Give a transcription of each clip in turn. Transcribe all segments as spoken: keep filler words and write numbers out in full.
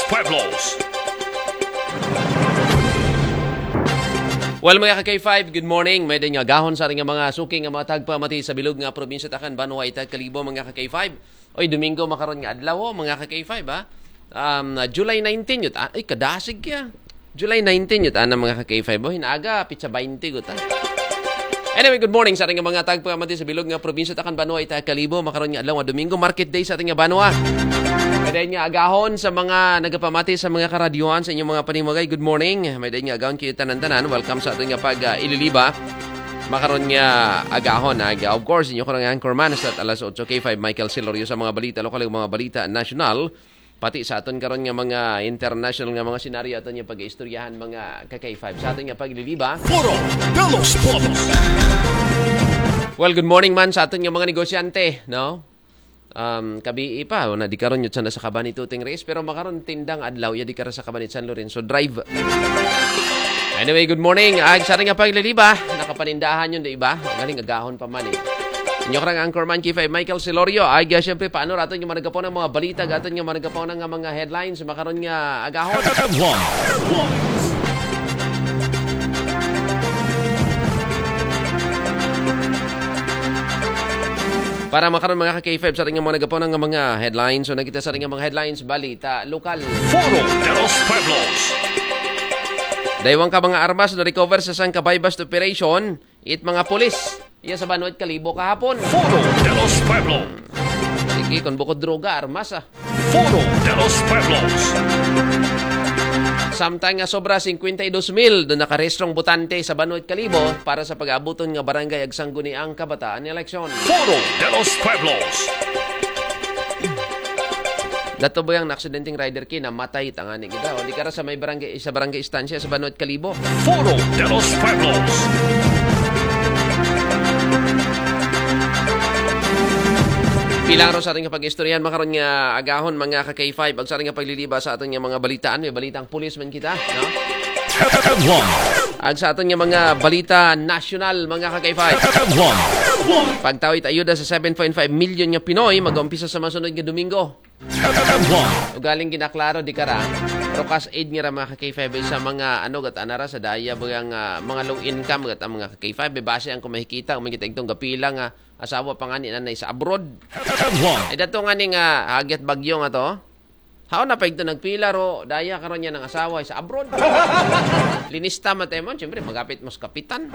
Pueblos. Well, mga ka-K five, good morning. May din nga agahon sa ating mga suki nga mga tagpamati sa bilog nga probinsya takan banwa ita kalibo, mga ka-K five. Oy, Domingo makaron nga adlaw, oh, mga ka-K five, ha. Um, July nineteen yun. Ah, ay, kadasig kaya. July nineteen yun, ana, mga ka-K five, oh. Hinaga, pizza twenty, guta. Anyway, good morning sa ating mga tagpamati sa bilog nga probinsya takan banwa ita kalibo. Makaron nga adlaw nga Domingo, market day sa ating banwa. May din nga agahon sa mga nagapamati sa mga karadyohan sa inyong mga panimagay. Good morning. May din nga agahon kayo tanan-tanan. Welcome sa ating pag uh, ililiba. Makaron nga agahon, aga. Of course, inyo ko nga anchorman sa alas otso K five, Michael Silorio sa mga balita lokal, mga balita national. Pati sa aton karon nga mga international nga mga senaryo aton nga pag-istoryahan, mga ka-K five. Sa aton nga pagliliba. Foro de los Pueblos. Well, good morning man sa aton nga mga negosyante, no? Um, kabii pa, na di karon yun sana sa Kabani Tuting Race, pero makaron tindang adlaw, ya di karon sa Kabani San Lorenzo Drive. Anyway, good morning. Ag sa aton nga pagliliba, nakapanindahan yun, di ba? Galing agahon pa man eh. Inyo karang anchorman K five Michael Silorio. Ay, uh, syempre, paano raton yung managapon ng mga balita, gaton yung managapon ng mga headlines, makaron nga agahon. Headlines. Para makaron, mga ka-K five, sa ating mga nagapon ng mga headlines. So, nakita sa ating mga headlines, balita, lokal. Foro de los Pueblos. Daywang ka mga armas na recover sa sangka buy-bust operation. It mga pulis, iya sa Banwait Kalibo kahapon. Foro de los Pueblos. Sige, kung bukod droga, armas ah. Foro de los Pueblos. Samtang nga sobra fifty-two mil doon nakarestrong botante sa Banwait Kalibo para sa pag-abuton nga barangay ag sangguniang kabataan eleksyon. Foro de los Pueblos. Dato ba yung aksidenteng rider ki namatay tangani kita? O di kara sa may barangay, sa barangay Estancia sa Banwait Kalibo. Foro de los Pueblos. Pilang ro sa ating kapag-istoryahan makaron nga agahon, mga ka-K five, ag sa ating kapagliliba sa ating nga mga balitaan. May balitang pulis man kita, no? Headlines. Ag sa ating nga mga balita nasyonal, mga ka-K five. Headlines. Pagtawit ayuda sa seven point five million nga Pinoy, mag-umpisa sa masunod nga Domingo. Headlines. Ugaling ginaklaro di kara, pero cash aid nga ra, mga ka-K five, sa mga ano, gat anara sa daya ba nga mga low income, gat ang mga ka-K five, base ang kumahikita, kumikita itong gapila nga asawa pa nga ni nanay sa abroad. Headlines. Ay, dato nga ni nga hagyat bagyo nga to. Hao na pa ito nagpila ro, daya karon niya ng asawa sa abroad. Linista man tayo mo, siyempre, magapit mo sa kapitan.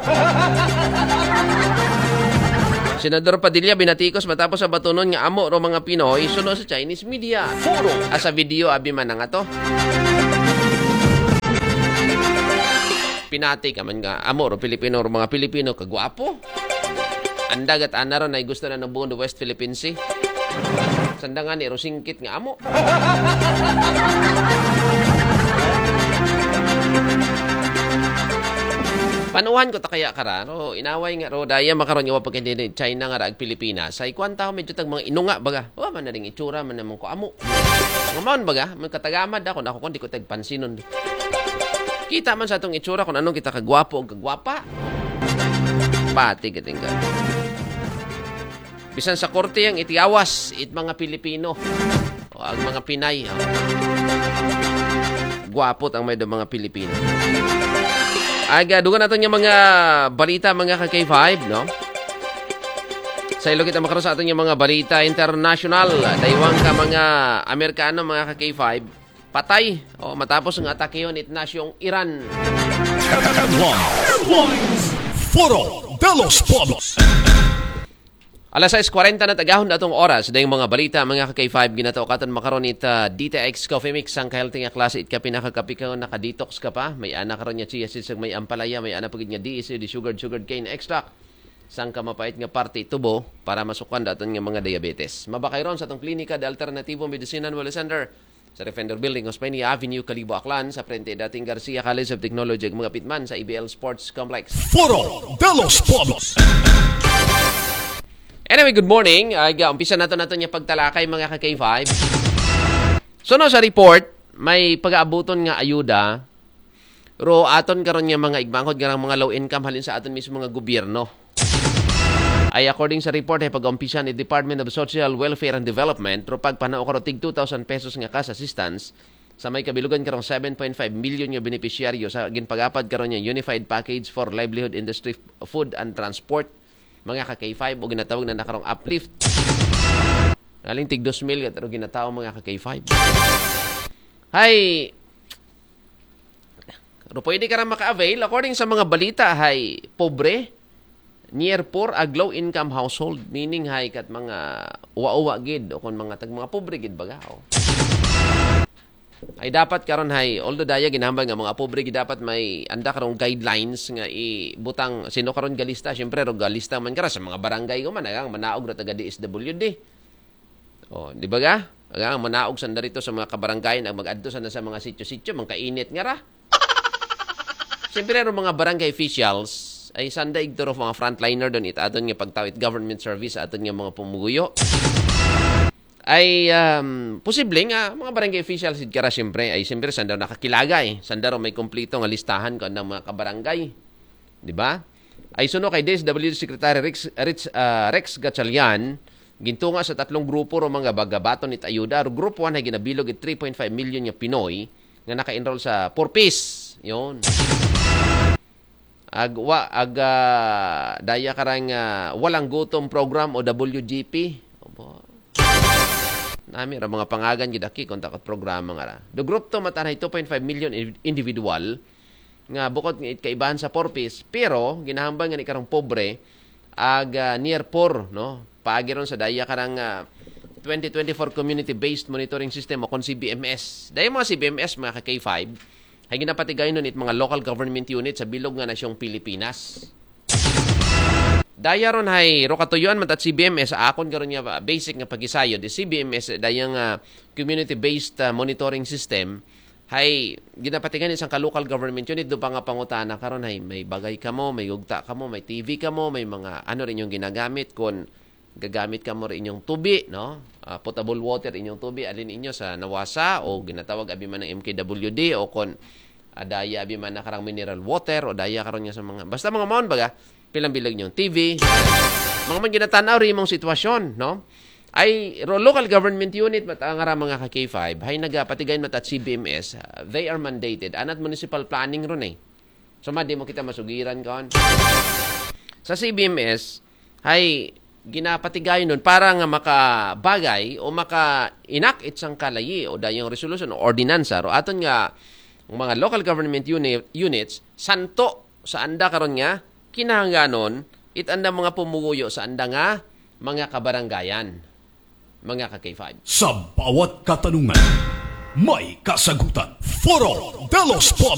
Senador Padilla binatikos matapos sa batunon nga amo ro mga Pinoy suno sa Chinese media. Foro. Asa video abi man nga to. Pinati ka man nga amo ro Pilipino ro mga Pilipino kagwapo. Andagat ana ro na gusto na nabuon do West Philippine Sea. Sandangan ni ro singkit nga amo. Panuhan ko ta kaya kara, ro inaway nga ro daya makaron nga wa pagkindi China nga raag Pilipinas. Ay kwan tao medyo tag mga inunga baga. Wa man na ring itsura man naman ko amo. Nga maon baga, may katagamad ako na ako kung di ko tagpansinon. Kita man sa atong itsura kung anong kita kagwapo o kagwapa. Pati gating ka. Bisan sa korte ang itiawas, it mga Pilipino. O ang mga Pinay. Oh. Gwapot ang may mga Pilipino. Aga, dugan natin yung mga balita, mga ka-K five, no? Sa ilo kita makaroon sa atin yung mga balita international. Daywang ka mga Amerikano, mga ka-K five. Patay. O, matapos nga atake yun, it nasyong Iran. Headlines. Foro de los Pueblos. Alas sais kwarenta na tagahon datong oras. Dayong mga balita, mga ka-K five, ginataw katan makaron it, ah, D T X Coffee Mix, ang kahealthy nga klase, it ka pinakakapi ka, naka-detox ka pa. May ana karon niya chia seeds, may ampalaya, may ana pagid nga D S C, di sugared, sugared cane extract. Sang ka mapait nga parte tubo para masukan daton nga mga diabetes. Mabakay ron sa atong klinika de Alternativo Medicina Wellness Center sa Defender Building, Osmeña Avenue, Kalibo, Aklan, sa frente dating Garcia College of Technology, ug mga pitman sa A B L Sports Complex. Foro de los Pueblos. Anyway, good morning. Ay, ga, umpisa nato nato niya pagtalakay, mga ka-K five. So, no, sa report, may pag-aabuton nga ayuda ro aton karon nga mga igmangkod nga mga low income halin sa aton mismo nga gobyerno. Ay according sa report ay pag-umpisan ni Department of Social Welfare and Development ro pagpanao karo tig two thousand pesos nga cash assistance Sa may kabilugan karong seven point five million nga benepisyaryo sa ginpagapad karon nga Unified Package for Livelihood Industry, Food and Transport, mga ka K five, o ginatawag na na karong uplift. Aling tig dos mil ka, pero ginatao, mga ka K five. Hay, pero pwede ka ra maka-avail. According sa mga balita, hay pobre, near poor, ag low income household, meaning hay kat mga uwa-uwa gid, o kung mga tag mga pobre gid baga, oh. Ay dapat karon hay, although daya ginambal nga mga pobre gid, dapat may anda karong guidelines nga ibutang sino karon galista, syempre ro galista man kara sa mga barangay ko man, agang manaog ra taga D S W D. Oh, di ba ga? Agang manaog sanda rito sa mga kabarangay, nag mag-adto sanda sa mga sityo-sityo, mga kainit nga ra. Siyempre, ang mga barangay officials ay sanda igturo mga frontliner doon, it aton nga pagtawit government service, aton nga mga pumuguyo. Ay um, posible nga mga barangay officials id kara, siyempre, ay siyempre sanda nakakilagay, sanda ro may kompleto nga listahan ko ng mga kabarangay. Di ba? Ay suno kay D S W D Secretary Rex, Rex, ah, Rex Gatchalian, gintunga sa tatlong grupo ro mga bagabaton it ayuda. Ro group one ay ginabilog it three point five million nga Pinoy nga naka-enroll sa Four Ps. Yon. Ag, wa, ag, ah, daya karang ah, walang gutom program o W G P. Opo. Nami ra mga pangagan gid aki kung takot programa nga ra. The group two matan ay two point five million in- individual nga bukod nga it kaibahan sa Four Ps, pero ginahambal nga ni karong pobre ag ah, near poor, no? Paagi ron sa daya karang ah, twenty twenty-four Community-Based Monitoring System o kon C B M S. Daya mga C B M S, mga ka K five, ay ginapatigayon nun it mga local government unit sa bilog nga nasyong Pilipinas. Daya ron hay ro katuyuan man tat C B M S, sa akon karon nga ah, basic nga pagisayod, is C B M S daya nga community-based ah, monitoring system, hay ginapatigan isang ka local government unit do pa nga pangutana karon hay may bagay kamo, may gugta kamo, may T V kamo, may mga ano rin yung ginagamit, kung gagamit kamo rin inyong tubi, no? Ah, potable water inyong tubi, alin inyo sa nawasa o ginatawag abi man ng M K W D o kon adaya abi man na karang mineral water o daya karon nga sa mga basta mga maon baga pilang bilag yung T V, mga man ginatanaw rin imong sitwasyon, no? Ay ro local government unit mat ang ara mga ka K five hay nagapatigay mat at C B M S, ah, they are mandated anat municipal planning ron eh. So ma di mo kita masugiran kon sa C B M S hay ginapatigayon nun para nga makabagay o maka-enact it sang kalayi o dayong resolution o ordinansa ro aton nga mga local government uni- units santo sa anda karon nga kinahanglanon it anda mga pumuguyo sa anda nga mga kabarangayan, mga ka K five. Sa bawat katanungan, may kasagutan. Foro de los Pueblos.